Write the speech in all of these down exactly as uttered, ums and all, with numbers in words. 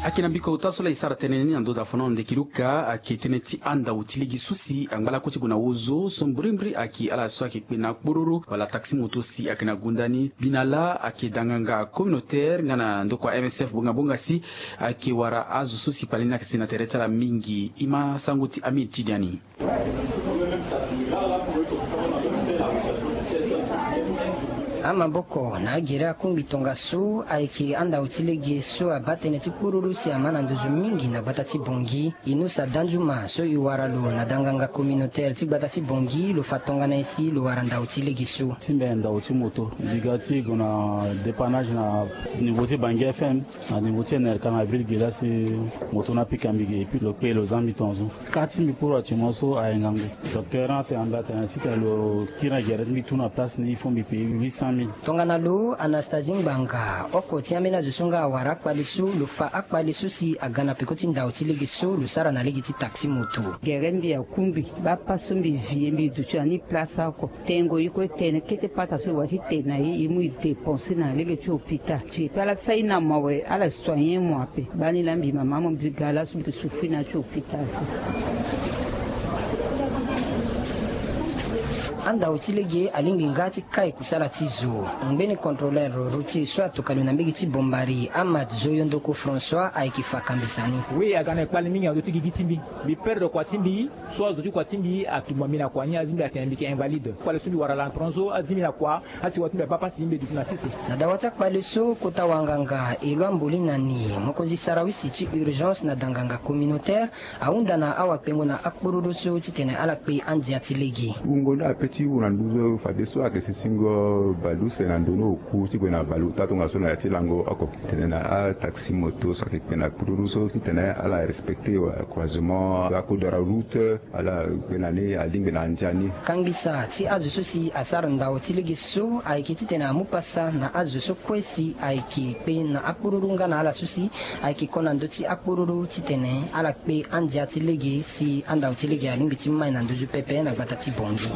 Ayeke na mbiko ota so laa e sara tënë ni na ndo da fana na ndeki luka ayeke tënë ti andau ti lege so si angba lakue ti gue na ozo so mbrimbri ayeke ala so ayeke kpe na akpororo wala taxi moto si ayeke na gonda ni. Bi na laa ayeke danganga communautaire nga na ndokua M S F bongabonga si ayeke wara azo so si kpale ni ayeke si na tere ti ala mingi. E ma sango ti Amid Tidiani. Amaboko na agere akungbi tongaso ayeke andau ti lege so abaa tënë ti kpururu si ama na nduzu mingi na gbata ti Bangui. Inus Adanzuma so e wara lo na danganga communautaire ti gbata ti Bangui lo fa tongana nyen si lo wara ndau ti lege so. Ti mbi ndau ti moto mbi ga ti gue na dépannage na niveau ti Bangui F M. Na niveau ti N R K na ville ge laa si moto ni apika mbi ge epui lo kpe lo za mbi tongaso. Ka ti mbi pour actuellement so aye ngangu. Docteur ni atene na mbi atene si tene lo kiri na gere ti mbi tout na place ni il faut mbi paye huit cent mille. Tongana lo Anastasie Ngbanga oko ti ambeni azo so nga awara akpale so lo fa akpale so si aga na peko ti ndau ti lege so lo sara na lege ti taxi moto. Gere mbi akungbi bapa so mbi vie mbi duti na ni place oko. Tengo ye kue tene kete pata so e wara ti tene na ye e mu e dépenser na lege ti hôpital. Ti e pe ala sai na mo awe ala soigner mo ape. Bani laa mbi mama mo mbi ga laso mbi souffrir na ya ti hôpital so. Andau ti lege alingbi nga ti kai kusala ti zo. Ngbeni contrôleur routier so atoka lo na mbege ti Bombari Ahmad Zoyondoko François ayeke fa kambisa ni. Oui aga na kpale mingi na ndö ti gigi ti mbi. Mbi perdre kua ti mbi. So azo ti kua ti mbi atumba mbi na kua ni azi mbi atene mbi yeke invalide. Kpale so mbi wara laa na pronzo azi mbi na kua. Asi wa ti mbi abaa pasi mbi duti na sese. Na dawa ti akpale so kota wanganga Eloi Mboli na ni mokonzi sarawisi ti urgence na danganga communautaire ahunda na awakpengo na akpururu so titene ala kpe andia ti lege. Wungo ni ape ti wu na nduzu fadeso ayeke sisingo baleuse na ndo ni oku ti gue na baleota tongaso na ya ti lango oko. Tene na ataxi moto so ayeke kpe na kpururu so titene ala respecter croisement, acode de la route. Ala kpe na ni alingbi na andia ni. Kangbi sa ti azo so si asara ndau ti lege so ayeke titene amu pasa na azo so kue si ayeke kpe na akpururu nga na ala so si ayeke ko na ndö ti akpururu titene ala kpe andia ti lege si andau ti lege alingbi ti mai na nduzu pepe na gbata ti Bongi.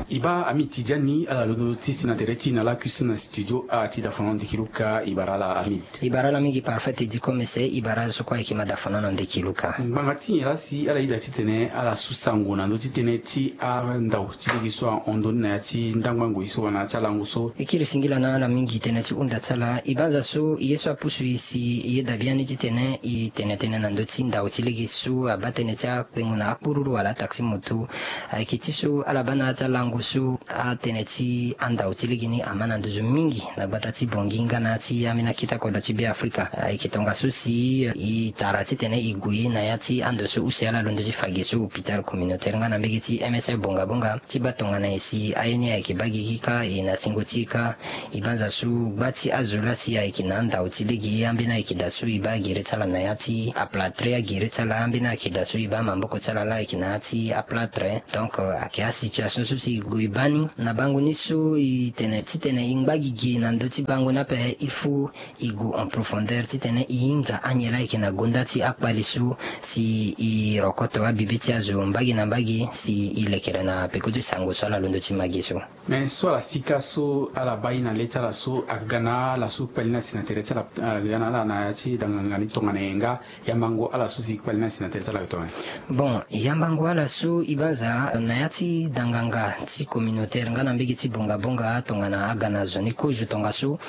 E baa Amid Tidiani ala londo ti si na tere ti na laku so na studio a ti dafono ndiki luka e bara ala Amid. E bara ala mingi parfait e di komese e bara azo so kue ayeke ma dafono na ndiki luka. Ngbanga ti nyen laa si ala yeda titene ala su sango na ndö ti tënë ti andau ti lege so ahon ndoni na ya ti ndangbango ye so wala na ya ti alango so? E kiri singila na ala mingi tënë ti hunda ti ala e banza so ye so apusu e si e yeda biani titene e tene tënë na ndö ti ndau ti lege so abaa tënë ti akpengo na akpururu wala ataxi moto. Ayeke ti so ala baa na ya ti alango so atënë ti andau ti lege ni ama na nduzu mingi na gbata ti Bongi nga na ya ti ambeni akete kodro ti Beafrika. Ayeke tongaso si e tara titene e gue na ya ti ando so use ala londo ti fa ge so hôpital communautaire nga na mbege ti M S F bongabonga ti baa tongana nyen si aye ni ayeke baa gigi kâ e na singo ti e kâ. E banza so gba ti azo laa si ayeke na andau ti lege ambeni ayeke daa so e baa agere ti ala na ya ti aplâtre agere ti ala ambeni ayeke daa so e baa maboko ti ala laa ayeke na ya ti aplâtre. Donc ayeke asituation so si e gue e baa ni na bango ni so e tene titene e ngba gi ge na ndö ti bango ni ape il faut e gue en profondeur titene e hinga anyen laa ayeke na gonda ti akpale so si e rokoto abibe ti azo mbage na mbage si e lekere na peko ti sango so ala londo ti ma ge so. Me so ala sika so ala baa ye na le ti ala so aga na ala so kpale ni asi na tere ti ala aga na ala na ya ti danganga ni tongana nyen nga? Yambango ala so si kpale ni asi na tere ti ala ayeke tongana nyen? Bon, yambango ala so e banza na ya ti danganga ti communautaire nga na mbege ti bongabonga tongana aga na zo ni kozo tongaso.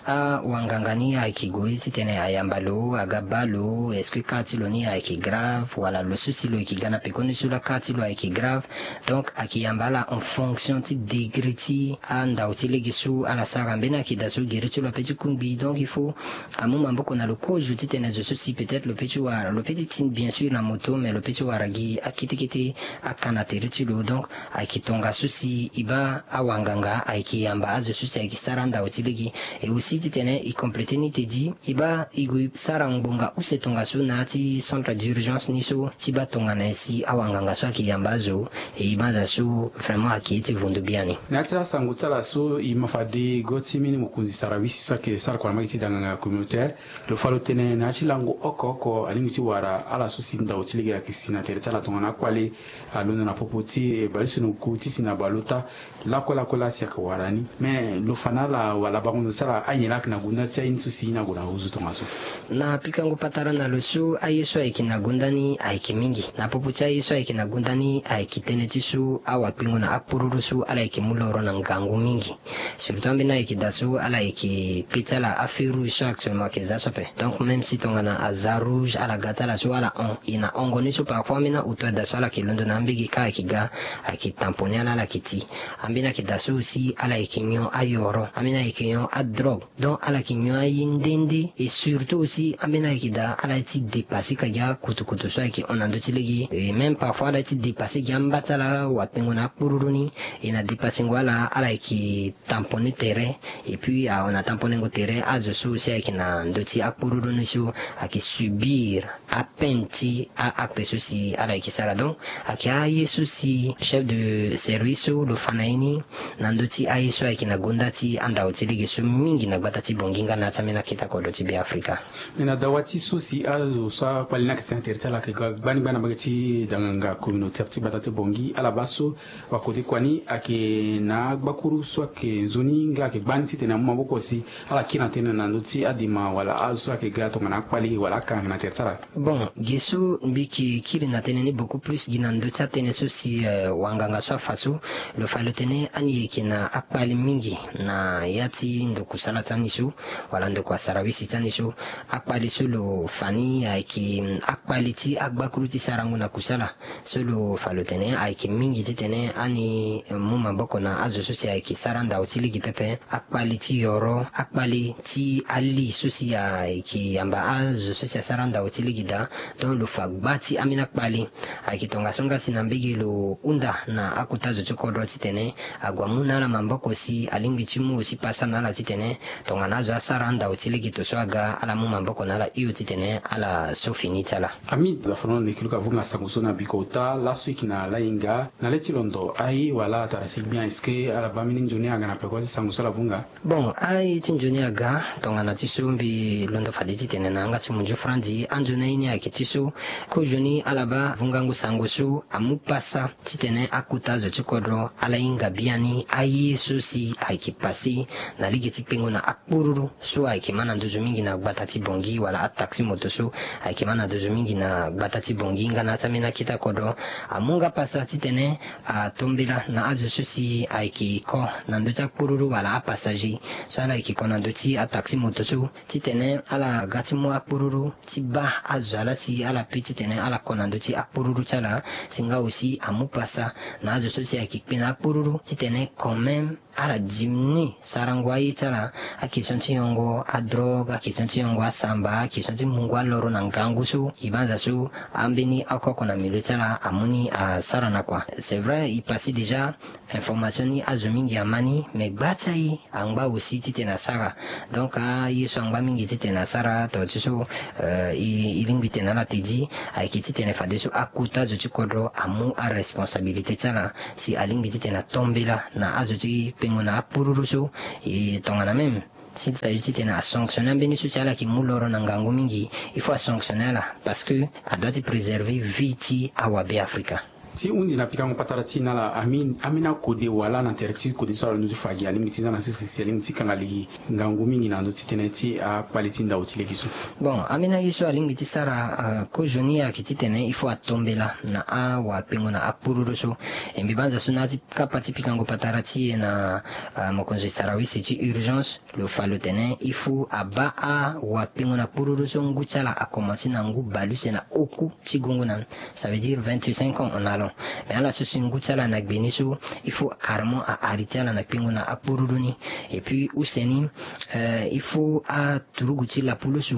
Awanganga ni ayeke gue titene ayamba lo aga baa lo est-ce que kâ ti lo ni ayeke grave wala lo so si lo yeke ga na pekoni so laa kâ ti lo ayeke grave. Donc ayeke yamba ala en fonction ti degré ti andau ti lege so ala sara mbeni ayeke daa so gere ti lo ape ti kungbi donc il faut amu maboko na lo kozo titene zo so si peut-être lo pe ti wara lo pe ti ti bien sûr na moto mais lo pe ti wara gi akete kete aka na tere ti lo donc ayeke tongaso si e baa awanganga ayeke yamba azo so si ayeke sara andau ti lege. Et aussi titene e compléter ni te di e baa e gue e sara ngbonga use tongaso na ya ti centre d'urgence ni so ti baa tongana nyen si awanganga so ayeke yamba azo. E e banza so vraiment ayeke ye ti vundu biani. Na ya ti asango ti ala so e ma fade go ti mbeni mokonzi sarawisi so ayeke sara kua na mbage ti danganga communautaire. Lo fa lo tene na ya ti lango oko oko alingbi ti wara ala so si ndau ti lege ayeke si na tere ti ala tongana akpale alondo na popo ti e baleuse na oku ti si na Lo ota lakue lakue laa si ayeke wara ni. Me lo fa na ala wala bango ndo ti ala anyen laa ayeke na gonda ti aye ni so si e na gue na ozo tongaso. Na pikango patara na lo so aye so ayeke na gonda ni ayeke mingi. Na popo ti aye so ayeke na gonda ni ayeke tënë ti so awakpengo na akpururu so ala yeke mu loro na ngangu mingi. Surtout ambeni ayeke daa so ala yeke kpe ti ala afeu rouge so actuellement ayeke za so ape. Donc même si tongana aza rouge ala ga ti ala so ala hon, e na hongo ni so parfois ambeni auto ada so ala yeke londo na ambege ka ayeke ga, ayeke tamponner ala, ala yeke ti. Ambeni ayeke daa so aussi ala yeke nyon ayoro, ambeni ayeke nyon adrogue. Donc ala yeke nyon aye nde nde. Et surtout aussi ambeni ayeke daa ala ye ti dépasser ka gi akutukutu so ayeke hon na ndö ti lege. Et même parfois ala ye ti dépasser gi amba ti ala wakpengo na akpururu ni. E na dépassengo ala, ala yeke tamponner tere. Et puis ahon na tamponner-ngo tere, azo so aussi ayeke na ndö ti akpururu ni so ayeke subir apeine ti a-acte so si ala yeke sara. Donc ayeke aye so si chef de service so lo fa na ye ni na ndö ti aye so ayeke na gonda ti andao ti lege so mingi na gbata ti Bangui nga na ya ti ambeni akete kodro ti Beafrika. Me na dawa ti so si azo so akpali ni ayeke si na tere ti ala ayeke gbani gbani na mbage ti danganga communautaire ti gbata ti Bangui, ala baa so wakode kua ni ayeke na agbakuru so ayeke nzoni nga ayeke gbani titene amu maboko si ala kiri na tënë na ndö ti adema wala azo so ayeke ga tongana akpali wala akanga ayeke na tere ti ala. Bon, ge so mbi yeke kiri na tënë ni beaucoup plus gi na ndö ti atënë so si, eh, wanganga so afa so, lo fa lo tene ani yeke na akpali mingi na ya ti ndo kusala ti ani so, wala ndo kua sarawisi ti ani so. Akpali so lo fa ni ayeke, mm, akpali ti agbakuru ti sarango na kusala. So lo fa lo tene ayeke mingi titene ani mu maboko na azo so si ayeke sara ndao ti lege pepe. Akpali ti yoro, akpali ti ali so si ayeke yamba azo so si asara ndao ti lege daa. Donc lo fa gba ti ambeni akpali. Ayeke tongaso nga si na mbege lo hunda na akota zo ti kodro titene ague amu na ala maboko si alingbi ti mu aussi pasa na ala titene tongana azo asara andao ti lege to so aga, ala mu maboko na ala hio titene ala so fini ti ala. Ami, ala fa na ala na yeke luka vunga sango so na biko ota laso e yeke na ala hinga na le ti londo aye wala atara ti gbia, est-ce que ala baa mbeni nzoni aga na peko ti sango so ala vunga? Bon, aye ti nzoni aga, tongana ti so mbi londo fade titene na yanga ti munzu franzi, anzoni aye ni ayeke ti so, kozoni ala baa vungango sango so amu pasa titene akota zo ti kodro ala hinga biani aye so si ayeke pase na lege ti kpengo na akpururu so ayeke ma na nduzu mingi na gbata ti Bangui wala ataxi moto so ayeke ma na nduzu mingi na gbata ti Bangui nga na ya ti ambeni akete kodro. Amu nga pasa titene atombela na azo so si ayeke ko na ndö ti akpururu wala apassager so ala yeke ko na ndö ti ataxi moto so titene ala ga ti mu akpururu ti baa azo ala si ala pi titene ala ko na ndö ti akpururu ti ala. Si nga aussi amu pasa na azo so si ayeke kpe na akpururu titene quand même ala diminuer sarango aye ti ala, akestion ti yongo adrogue, akestion ti yongo asamba, akestion ti mungo aloro na ngangu so. E banza so ambeni oko oko na milieu ti ala amu ni asara na kua. C'est vrai, e passé déjà information ni azo mingi ama ni, mais gba ti aye angba aussi titene asara. Donc aye so angba mingi titene asara to ti so, euh, e, e lingbi tene ala tedi ayeke titene fadeso akota zo ti kodro amu aresponsabilité ti ala si alingbi titene atombela na azo ti kpengo na akpururu so. E tongana même s'il s'agit titene asanctionner ambeni so si ala yeke mu loro na ngangu mingi, il faut asanctionner ala parce que adoit ti préserver vie ti awabe Afrika. Ti hundi na pikango patara ti e na ala, ami, ambeni akode wala na tere ti kode so ala ndö ti fa gi alingbi ti za na sese si alingbi ti kanga lege ngangu mingi na ndö ti tënë ti akpali ti ndao ti lege so? Bon, ambeni aye so alingbi ti sara, euh, kozoni ayeke titene il faut atombela na awakpengo na akpururu so. E mbi banza so na ya ti kapa ti pikango patara ti e na, euh, mokonzi sarawisi ti urgence, lo fa lo tene il faut abaa awakpengo na kpururu so ngu ti ala akomanse na ngu bale use na oku ti gongo na, ça veut dire vingt-cinq ans en allant. Mais ala so si ngu ti ala na gbe ni so, il faut carrément a arrêter ala na kpengo na akpururu ni. Et puis use ni, euh, il faut aturugu ti lapulusu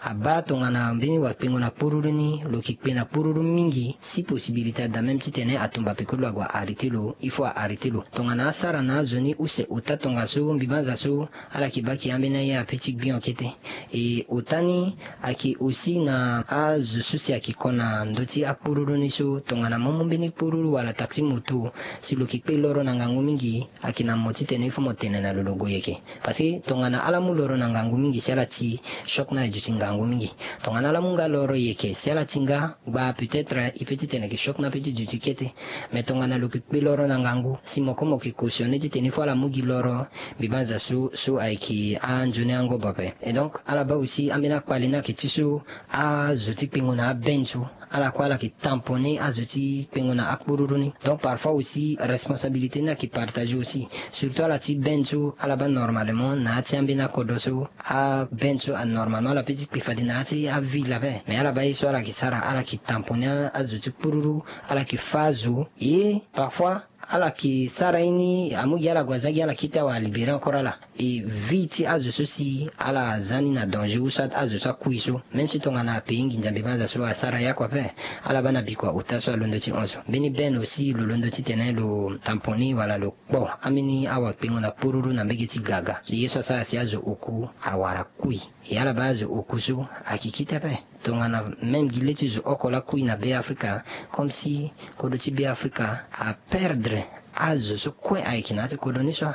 abaa tongana mbeni wakpengo na kpururu ni lo yeke kpe na kpururu mingi, si possibilité ada même titene atumba peko lo ague a arrêter lo, il faut a arrêter lo. Tongana asara na azo ni use ota tongaso, mbi banza so ala yeke baa ayeke ambeni aye ape ti gbion kete. E ota ni ayeke aussi na azo so si ayeke ko na ndö ti akpururu ni so, tongana mo mu mbeni kpururu wala taxi moto, si lo yeke kpe loro na ngangu mingi, ayeke na mo titene il faut mo tene na lo lo gue yeke. Parce que tongana ala mu loro na ngangu mingi si ala ti choc ni aduti ngangu mingi. Tongana ala mu nga loro yeke si ala ti nga, gba peut-être il peut titene yeke choc ni ape ti duti kete. Mais tongana lo yeke kpe loro na ngangu si mo ko mo yeke cautionner titene il faut ala mu gi loro, mbi banza so so ayeke anzoni angobo ape. Et donc ala baa aussi ambeni akpali ni ayeke ti so, azo ti kpengo na abenzo, ala kue ala yeke tamponner azo ti kpengo na akpururu ni. Donc parfois aussi responsabilité ni ayeke partager aussi. Surtout ala ti benzo ala baa normalement na ya ti ambeni akodro so, abenzo anormalement ala peut ti kpe fade na ya ti aville ape. Mais ala baa ye so ala yeke sara, ala yeke tamponner azo ti kpururu, ala yeke fâ azo. Ye parfois ala yeke sara ye ni amu gi ala gue aza gi ala kete awe alibérer encore ala. E vie ti azo so si ala za ni na danger ou soit azo so akui so. Même si tongana apayer nginza mbi banza so asara ye oko ape. Ala baa na bikua ota so alondo ti hon so. Mbeni bene aussi lo londo titene lo tamponner wala lo kpo ambeni awa kpengo na kpururu na mbege ti gaga. Ye so asara si azo oku awara kui. E ala baa azo oku so ayeke kite ape. Tongana même gi le ti zo oko laa kui na Be Afrika, comme si kodro ti Be Afrika aperdre azo so kue ayeke na ya ti kodro ni so.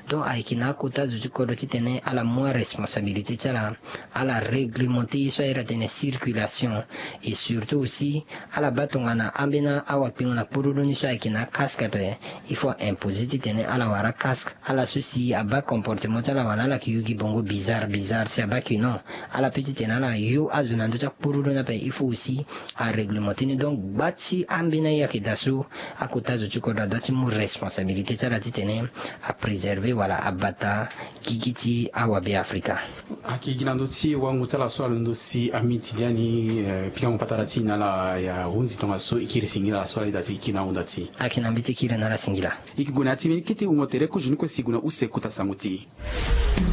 Donc ayeke na akota zo ti kodro titene ala mu aresponsabilité ti ala, ala réglementer ye so ayeke atene circulation. Et surtout aussi ala baa tongana ambeni awa kpengo na kpururu ni so ayeke na akasque ape, il faut aimposer titene ala wara akasque. Ala so si abaa comportement ti ala wala ala yeke yu gi bongo bizarre bizarre si abaa ke non. Ala peut titene ala yu azo na ndö ti akpururu ni ape, il faut aussi aréglementer ni. Donc gba ti ambeni aye ayeke daa so, akota zo ti kodro adoit ti mu responsabilité ti ala titene apréserver wala abata gigi ti awa Be Afrika. Ayeke gi na ndö ti wango ti ala so alondo si ami ti dia ni, eh, pikango patara ti e na ala ya hunzi tongaso e kiri singila ala so ala ita ti e kiri na ahunda ti e. Ayeke na mbi ti kiri na ala singila. E yeke gue na ya ti mbeni kete wungo tere kozo ni kue si e gue na use kota sango ti e.